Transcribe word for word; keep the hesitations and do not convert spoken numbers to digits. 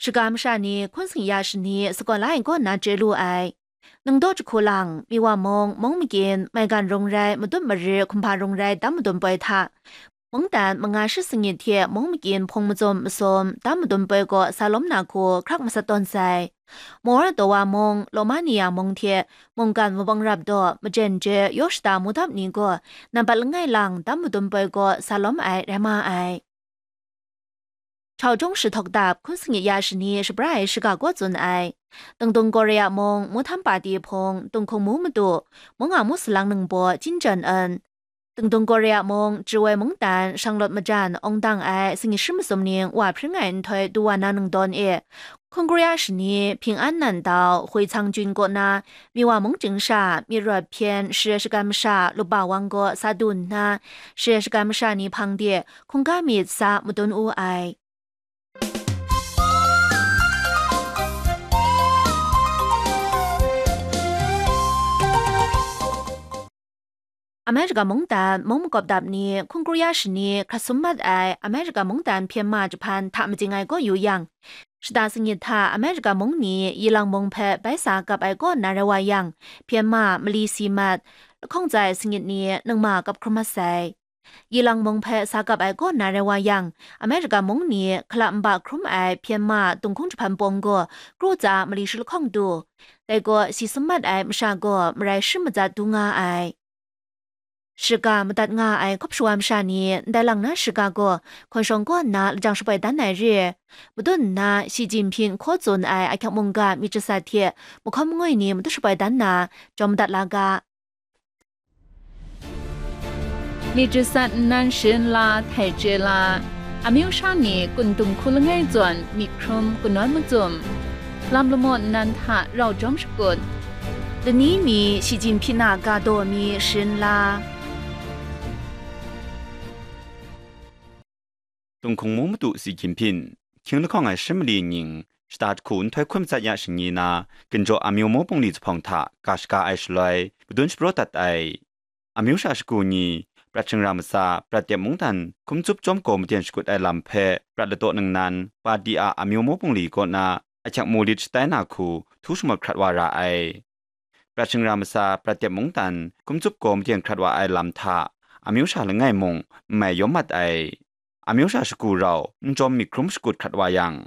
Shaga masha ni hkun singya shani sakawn la ai kaw na chye lu ai. Ningdaw jahku lang, Miwa mung, mung magyin, maigan rung rai, madun mari, hkumhpa rung rai, dam madun poi hta, mungdan manga shi singit hte mung magyin hpung mazum masum, dam madun poi gaw sa lawm na hku hkrak masat tawn sai. Moldova mung, Romania mung hte mungkan mabawng rap daw, majen je, yaw shada mudap ni gaw, nampat langai lang dam madun poi gaw sa lawm ai rai ma ai. Chaw jawng shi htawk dap hkun singit ya shani shabra ai shiga gaw tsun ai. Dingdung Korea mung, Muhtam Pati hpung, Tunghkung mu madu, mung a mu salang ningbaw, Jin Jan En. Dingdung Korea mung, Chirwoi mungdan, shanglawt majan, awng dang ai, singit shi masum ning wa hpring ai nhtoi du wa na ningdawn e, Hkun Korea shani, Ping An Nan Dau, Hui Cang Jun kaw na, Miwa mung chying sha, myit rawt hpyen, share shagan masha, Lupa Wang gaw sa du nna, share shagan masha ni hpang de, hkungga myit sa madun wu ai. America mungdan mung makawp dap ni hkun Korea shani hkrat sum mat ai America mungdan hpyen ma jahpan hta majing ai kaw yu yang, shada sangit hta America mung ni Yilang mung hpe bai sa kap ai kaw na rai wa yang, hpyen ma mali si mat, lahkawng tsa ai sangit ni ningma kap hkrum mat sai. Yilang mung hpe sa kap ai kaw na rai wa yang, America mung ni hkala nba hkrum ai hpyen ma dunghkung jahpan pawng gaw kru tsa mali shi lahkawng du. Dai gaw si sum mat ai masha gaw marai shi matsat du nga ai. Shiga madat nga ai hkawp shawa masha ni ndai lang na shiga gaw hkawn shawng kaw nna lajang shaboi dan ai re. Madun nna Xi Jinping hkaw tsun ai ahkyak mungga myit jasat hte mahkawn mangwi ni madu shaboi dan na jawm madat la ga. Myit jasat nnan sharin la, htai chye la, amyu sha ni kun dung hku langai zawn myit hkrum kanawn mazum, lam lamaw nnan hta rau jawm shakut, lani mi Xi Jinping a ga daw mi sharin la. Tunghkung mu madu Xi Jinping, hkying lahkawng ai shi mali nying, shata jahku nhtoi hkun matsat ya shani na, ginjaw amyu mu bungli zuphpawng hta ga shaga ai shaloi, madun shapraw dat ai. Amyu sha shagu ni, prat shingra matsa, prat dep mungdan, hkum tsup chyawm gaw maden shakut ai lam hpe, prat ladaw ningnan, Padi a amyu mu bungli kaw na, ahkyak mu lit shatai na hku, htu shamawt hkrat wa ra ai. Prat shingra matsa, prat dep mungdan, hkum tsup gaw maden hkrat wa ai lam hta, amyu sha langai mung, n mai yawm mat ai. Amyu sha shagu rau, n jawm myit hkrum shakut hkrat wa yang,